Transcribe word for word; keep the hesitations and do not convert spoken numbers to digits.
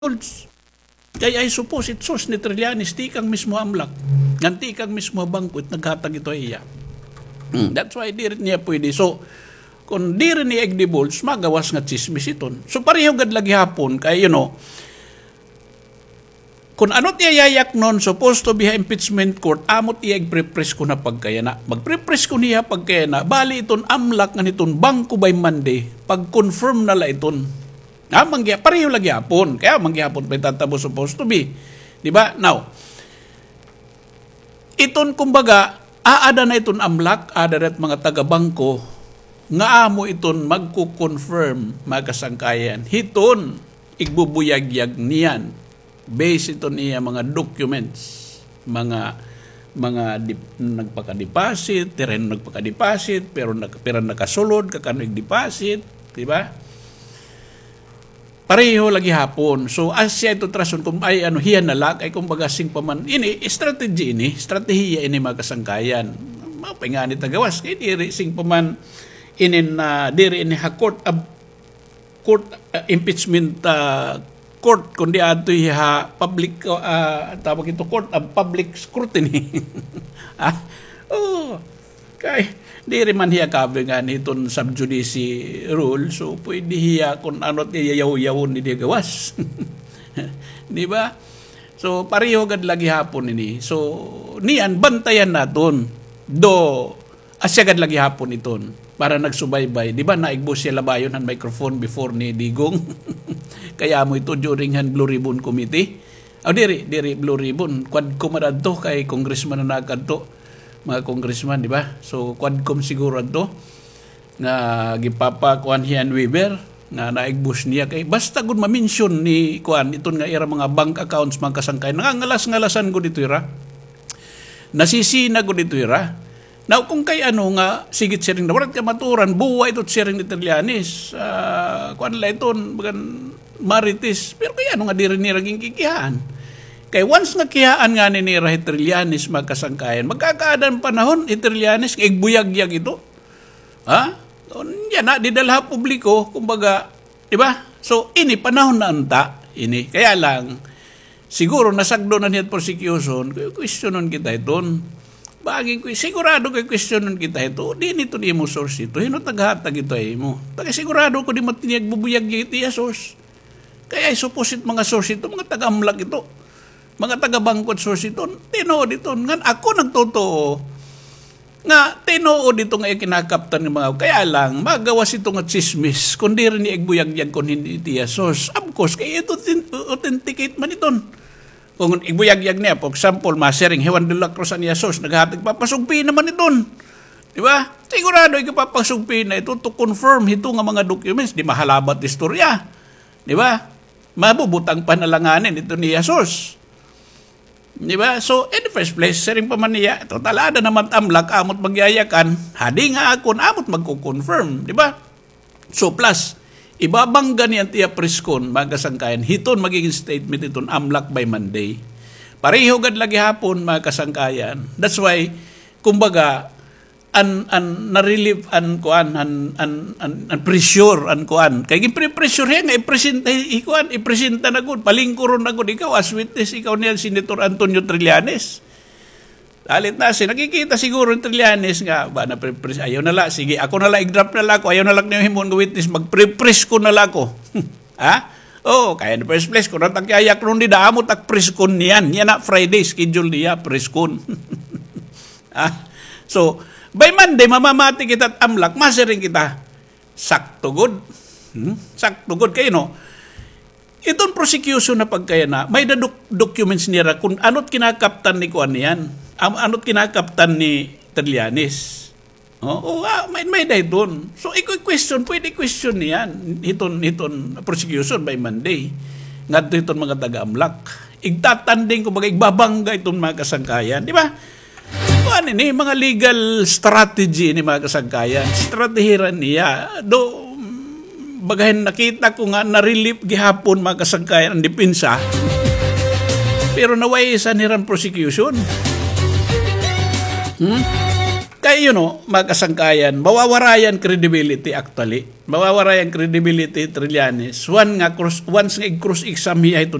Kay I suppose it source ni Trillanes, tikang mismo ha AMLAC. Ngan tikang mismo ha bangko it naghatag ito ha iya. Hmm, that's why diri niya pwede. So, kon diri niya igdivulge, magawas nga tsismis iton. So, pareho gad la gihapon kay, you know, kon ano it iya yayaknon, supposed to be ha impeachment court, amo it iya igpre-press kon ha pagkayana. Magpre-press kon hiya ha pagkayana, bali iton AMLAC ngan iton bangko by Monday, pag-confirm na la iton. Amo man giha-, pareho la gihapon. Kay amo man gihapon it mahitatabo supposed to be. Di ba? Now, iton kumbaga, aada na iton AMLAC, aada na it mga taga-bangko, nga amo iton magko-confirm, mga kasangkayan. Hiton, igbubuyagyag niyan. Based iton iya mga documents, mga, mga dip-, nagpaka-deposit, terreno nagpaka-deposit, pero nag-, pira nakasulod, kakano ig-deposit, di ba? Pareho la gihapon. So, asya ito trason kung ay ano, hiya na la, kay kumbaga sing pa man, ini, strategy ini, estratehiya ini, mga kasangkayan. Mapay ngani ta gawas, kay diri sing pa man, inin, ah, diri ini ha court of, court, ah, impeachment, ah, court, kundi adto ha public, ah, tawag ito, court of public scrutiny. Ah, oh, kay, diri man hiya cover ngani hiton sub judice rule, so pwede hiya kon ano it iya yaw-yawon didi gawas. Di ba? So, pareho gad la gihapon ini. So, niyan, bantayan naton. Do, asya gad la gihapon iton. Para nagsubaybay. Di ba, naigbos hiya labayon han microphone before ni Digong? Kay amo ito during han Blue Ribbon Committee. Aw, diri, diri Blue Ribbon. Quadcom adto kay congressman na nakadto. Mga congressman, di ba? So, Quadcom siguro adto. Nga gipapakuan hiya ni Weaver, nga naigbos niya kay basta gud ma-mention ni kuan, iton nga ira mga bank accounts, mga kasangkay, nangangalas-ngalasan gud ito ira. Nasisina gud ito ira. Now, kung kay ano nga, sige it siring na, waray it kamatuoran, buwa ito it siring ni Trillanes, ah, kuan la iton, bagan Marites. Pero kay ano nga diri nira ginkikihaan? Kay once nga kihaan ngani nira hi Trillanes, mga kasangkayan, magkakaada an panahon, hi Trillanes, nga igbuyagyag ito. Ha? Unya na, didala ha publiko, kumbaga, di ba? So, ini, panahon na unta, ini. Kaya lang, siguro, nasagdo na niya it prosecution, kay questionon kita iton. Bangin ko, sigurado kay questionon kita ito, diin ito nimo source ito, hin-o it naghatag ito ha imo. Taga sigurado ko di man it iya igbubuyagyag it iya source. Kay I suppose it mga source ito, mga taga-AMLAC ito. Mga taga-bangko it source ito, tinuod ito. Ngan ako nagtutuo nga tinuod ito nga iya kinakaptan nga mga, kaya lang, magawas ito nga tsismis, kon diri niya igbuyagyag kon hin-o it iya source. Of course, kay ito authent-, authenticate man iton. Kon igbuyagyag niya, for example, masiring hi Juan de la Cruz an iya source, naghatag, papasugpina man iton. Di ba? Sigurado igpapasugpina ito to confirm hito nga mga documents, di mahalabat istorya. Di ba? Mabubutang pa na la ngani iton iya source. Di ba? So, in the first place, siring pa man niya, total, aada naman it AMLAC, amo it magyayakan, hadi nga akon, amo it magko-confirm, di ba? So, plus, ibabangga niyan it iya press con, mga kasangkayan, hiton magiging statement hiton AMLAC by Monday. Pareho gad la gihapon, mga kasangkayan. That's why, kumbaga, an, an, na-relieve an kuan, an, an, an, an pressure, an kuan. Kay ginpre-pressure hiya nga ipresenta, hi, hi kuan, ipresenta na gud, palingkuron na gud ikaw as witness, ikaw niyan, Senator Antonio Trillanes. Dalit na siya, nakikita siguro ni Trillanes nga, ba, na pre-press, ayaw na la, sige, ako na la, i-drop na la ako, ayaw na la niyo himoon nga witness, magpre-press ko na la ako. Ha? Oo, kay in the first place, kon ano it ak yayaknon dida, amo it ak press con niyan. Yana Friday, schedule niya, press con. Ah, so, by Monday, mamamati kita it AMLAC, masiring kita. Sakto gud. Hmm? Sakto gud. Kay, no, iton prosecution na pagkayana, may-ada doc-, documents nira kon ano it kinakaptan ni kuan niyan. Am-, ano it kinakaptan ni Trillanes. Oo, ah, may, may-ada hiton. So, iko question, pwede question niyan. Hiton, hiton prosecution by Monday. Ngadto hiton mga taga-AMLAC. Igtatanding, kumbaga, igbabangga iton mga kasangkayan. Di ba? Kuan ini, mga legal strategy ini, mga kasangkayan. Estratehiran niya. Do, bagahin nakita ko nga na-relieve gihapon, mga kasangkayan, an depensa. Pero naway-isan hira an prosecution. Hmm? Kay, you know, mga kasangkayan, mawawara an credibility actually. Mawawara an credibility, Trillanes. One nga cross, once nga i-cross-exam hiya hito